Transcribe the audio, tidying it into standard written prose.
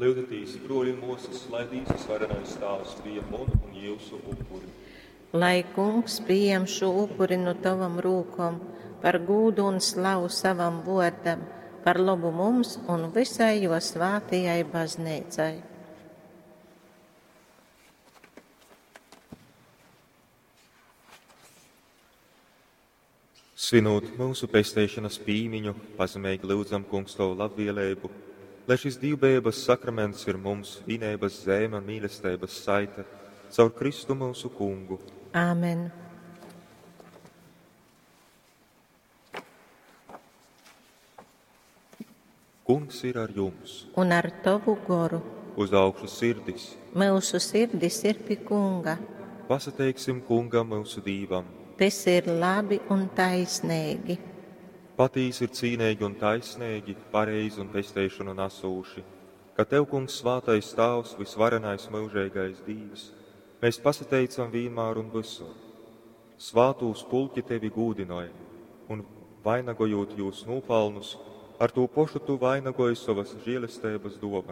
Lyudzatīs, bruoļi un muosys, lai Dīvs Vysvarenais Tāvs pījem munu un jiusu upuri. Lai Kungs pījem šū upuri nu tovom rūkom par gūdu un slavu savam vuordam, par lobu mums un vysai juo svātajai Bazneicai. Svinūt myusu pesteišonas pīmiņu, pazemeigi lyudzam, Kungs, Tovu labvēlību, lai šis dīvbejeibas sakraments ir mums vīneibas zeime un mīlesteibas saite caur Kristu myusu Kungu. Āmen. Kungs ir ar jums. Un ar tovu goru. Uz augšu sirdis. Myusu sirdis ir pi Kunga. Pasateiksim Kungam myusu Dīvam. Tas ir labi un taisnīgi. Patīsi ir cīneigi un taisneigi, pareizi un pesteišonu nasūši, ka Tev, Kungs, svātais Tāvs, vysvarenais myužeigais Dīvs, mēs pasateicam vīnmār un vysur. Svātūs pulki Tevi gūdynoj, un, vainagojūt jūs nūpalnus, ar tū pošu Tu vainagoji sovas žēlesteibas duovanu.